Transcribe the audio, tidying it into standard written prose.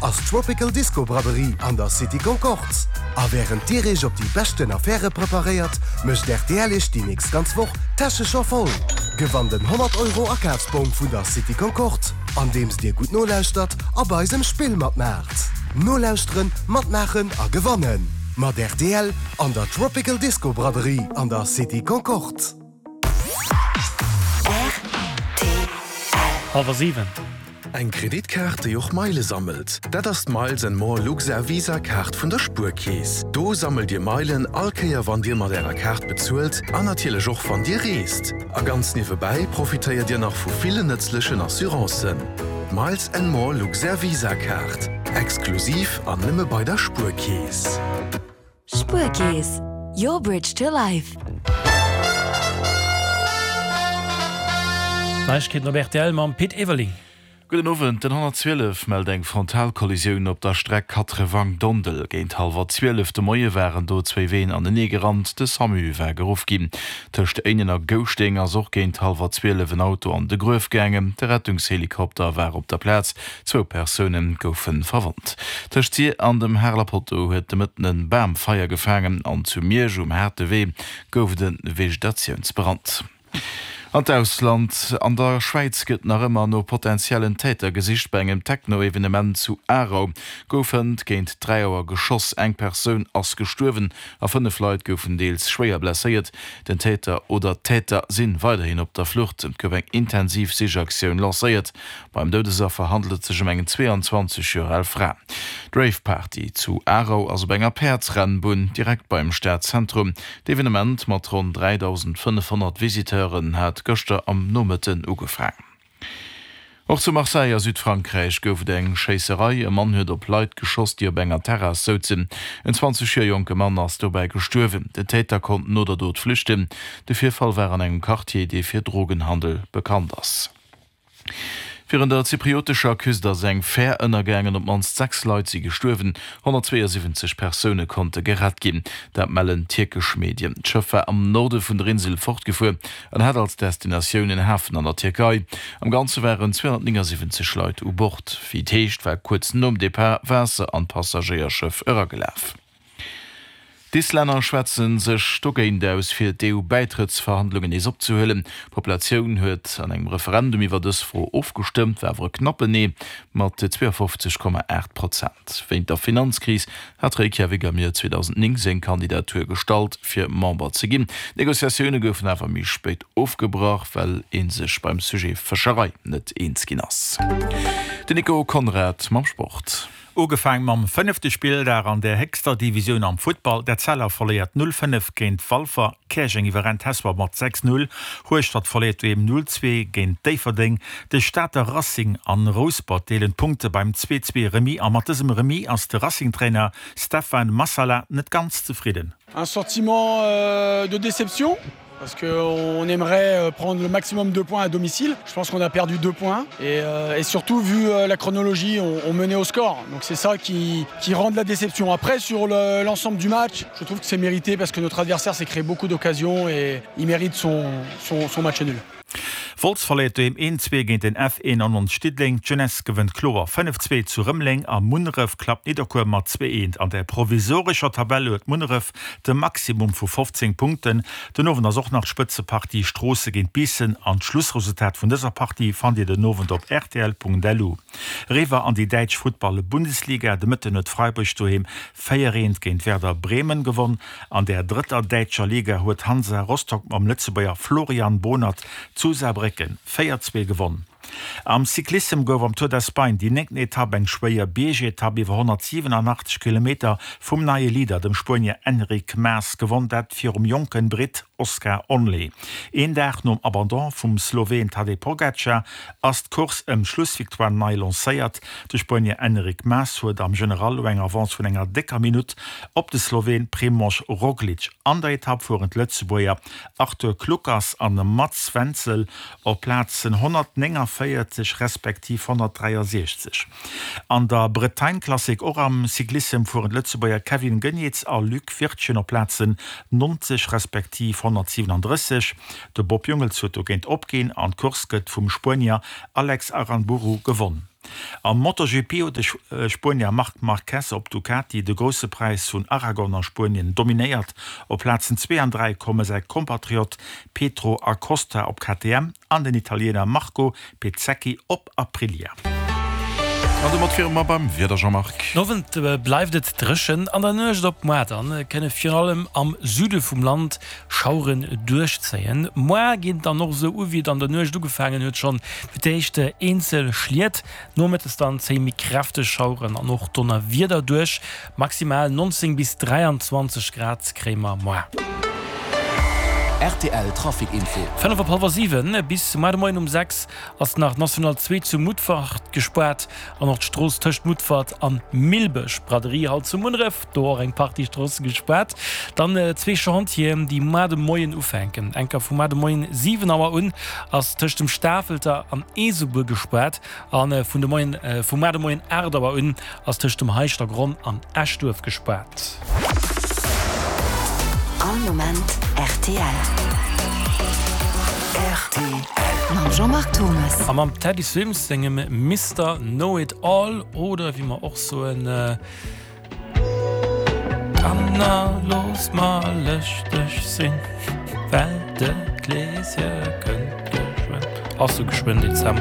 ass d'Tropical Disco Braderie an der City Concorde. A wärend dir iech op déi beschten Affäre preparéiert, mécht rtl iech déi nächst ganz Woch d'Täsche scho voll. Gewannt en 100 Euro Akafsbong vun der City Concorde, andeems dir gutt nolauschtert a bei eisem Spill matmaacht. Nolauschteren, matmaachen a gewannen mat rtl an der Tropical Disco Braderie an der City Concorde. Hallwer 7. Eng Kreditkaart, déi och Meile sammelt, dat ass d'Miles and More Luxair Visa Kaart vun der Spuerkeess. Do sammelt Dir Meilen all Kéier wann Dir mat Ärer Kaart bezuelt an natierlech och wann Dir reest. A ganz niewebäi profitéiert Dir nach vu villen nëtzlechen Assurancen. D'Miles and More Luxair Visa Kaart, exklusiv an nëmme bei der Spuerkeess. Spuerkeess, your bridge to life. Neiegkeeten op rtl mam Pit Everling. Gudden Owend, Den 112 mellt eng Frontalkollisioun op der Streck Katrewang-Dondel. Géint hallwer 12 de Moie waren do zwéi Ween anenee gerannt. De Samu war geruff ginn. Tëscht Éinen a Gouschteng ass och géint hallwer 12 en Auto an de Gruef gaangen. De Rettungshelikopter war op der Plaz. Zwou Persoune goufe verwonnt. Tëscht Sir an dem Hareler Potto huet de Mëtten e Bam Feier gefaangen an zu Miersch um Haarte Wee gouf et e Vegetatiounsbrand. An d'Ausland, An der Schwäiz gëtt nach ëmmer no potentiellen Täter gesicht. Bei engem Techno-Evenement zu Aarau gouf hënt géint 3 Auer geschoss. Eng Persoun ass gestuerwen a 5 Leit goufen deels schwéier blesséiert. Den Täter oder d'Täter si weiderhin op der Flucht. Et gouf eng intensiv Sichaktioun lancéiert. Beim Doudesaffer handelt et sech ëm eng 22 Joer al Fra. D'Rave-Party zu Aarau ass op enger Päerdsrennbunn direkt beim Stadzentrum. D'Evenement mat ronn 3.500 Visiteuren hat gëschter am Nomëtten ugefaang. Och zu Marseille a Südfrankräich gouf et eng Schéisserei. E Mann huet op Leit geschoss, déi op enger Terrass souzen. En 20 Joer jonke Mann ass dobäi gestuerwen. Den Täter konnt no der Dot flüchten. De Virfall war an engem Quartier, dee fir Drogenhandel bekannt ass. Virun der zypriotescher Küst ass eng Fär ënnergaangen. Op d'mannst 6 Leit si gestuerwen, 172 Persoune konnte gerett ginn. Dat mellen tierkesch Medien. D'Schëff war am Norde vun der Insel fortgefuer an hat als Destinatioun en Hafen an der Tierkei. Am Ganze waren 279 Leit u Bord. Wéi et heescht, war kuerz nom Depart Waasser an d'Passagéierschëff eragelaf. D'Islänner schwätze sech dogéint aus, fir d'EU-Bäitrëttsverhandlungen nees opzehuelen. D'Populatioun huet an engem Referendum iwwer dës Fro ofgestëmmt, war awer e knappen Nee mat 52,8 Prozent. Wéint der Finanzkris hat Reykjavik am Joer 2009 seng Kandidatur gestallt, fir Member ze ginn. D'Negociatioune goufen awer méi spéit ofgebrach, well ee sech beim Sujet Fëscherei net eens ginn ass. Den Nico Conrad mam Sport. Ugefaang mam fënnefte Spilldag an der héchster Divisioun am Futtball. D'Etzella verléiert 0, 5 géint Walfer, Käerjeng iwwerrennt Hesper mat 6, 0, Hueschtert verléiert doheem 0, 2 géint Déifferdeng. De Stater Racing an Rouspert deelen d'Punkte beim 2, 2 Remis a mat dësem Remis ass de Racing-Trainer Stefan Massala net ganz zefridden. Un sentiment de déception parce qu'on aimerait euh, prendre le maximum de points à domicile. Je pense qu'on a perdu deux points et, euh, et surtout vu euh, la chronologie, on, on menait au score. Donc c'est ça qui, qui rend de la déception. Après sur l'ensemble le, du match, je trouve que c'est mérité parce que notre adversaire s'est créé beaucoup d'occasions et il mérite son, son, son match nul. Wolz verléiert doheem 1, 2 géint den F91 Diddeleng, d'Jeunesse gewënnt kloer 5, 2 zu Rëmeleng a Munneref klappt Nidderkuer mat 2, 1. An der provisorescher Tabell huet Munneref de Maximum vu 15 Punkten. Den Owend ass och nach d'Spëtzepartie Stroosse géint Biissen an d'Schlussresultat vun dëser Partie fannt Dir den Owend op rtl.lu. Eriwwer an déi däitsch Futtball-Bundesliga, De Mëtten huet Freiburg doheem 4, 1 géint Werder Bremen gewonn. An der drëtter däitscher Liga huet Hansa Rostock mam Lëtzebuerger Florian Bohnert zu Saarbrécken 4, 2 gewonn. Am Cyclissem gouf am Tour d'Espagne déi néngten Etapp eng schwéier Biergetapp iwwer 187 Kilometer vum neie Leader, dem Spuenier Enric Mas, gewonn, dat virum jonken Britt Oscar Onley. Een Dag nom Abandon vum Sloween Tadej Pogacar ass d'Course ëm d'Schlussvictoire nei lancéiert. De Spuenier Enric Mas huet am General lo eng Avance vun enger décker Minutt op de Sloween Primož Roglič. An der Etapp fueren d'Lëtzebuerger Arthur Kluckers an Mats Wenzel op Plazen 149 respektiv 163. An der Bretagne Classic, och am Cyclissem, fueren d'Lëtzebuerger Kevin Geniets a Luc Wirtgen op Plazen 90 respektiv 137. De Bob Jungels huet dogéint opginn an d'Course gëtt vum Spuenier Alex Aranburu gewonn. Am MotoGP huet de Spuenier Marc Marquez op Ducati de Grousse Präis vun Aragon a Spuenien dominéiert. Op Plazen 2 an 3 komme säi Kompatriot Pedro Acosta op KTM an den Italiener Marco Bezzecchi op Aprilia. An domat wiere mer beim Wieder, Jean-Marc. Den Owend bleift et dréchen, an der Nuecht op muar dann kënne virun allem am Süde vum Land Schaueren duerchzéien. Moar geet et dann och esou u wéi et an der Nuecht ugefaangen huet, schonn fir d'éischt eenzel Schliet, nomëttes dann zéie méi kräfteg Schaueren an och Donnerwieder duerch. Maximal 19 bis 23 Grad kréie mer moar. Rtl Trafic Info. 5 op hallwer 7 bis muar de Moien um 6 ass nach d'National 2 zu Mutfert gespaart an och d'Strooss tëscht Mutfert an Millbësch, Braderie halt zu Munneref. Do och eng Partie Stroosse gespaart. Dann zwee Chantieren, déi muar de Moien ufänken. Enker vu muar de Moien 7 Auer un ass tëscht dem Stafelter an Eesebuer gespaart a vun de Moien vu muar de Moien 8 Auer un ass tëscht dem Heischtergronn an Eschduerf gespaart. All Moment rtl. Rtl. Mam Jean-Marc Thomas. A mam Teddy Swims sengem Mister Know It All oder wéi mer och soen, Kanner, loosst mer lëschteg sinn, well de Kleeschen kënnt geschwënn. Ass sou geschwënn Dezember.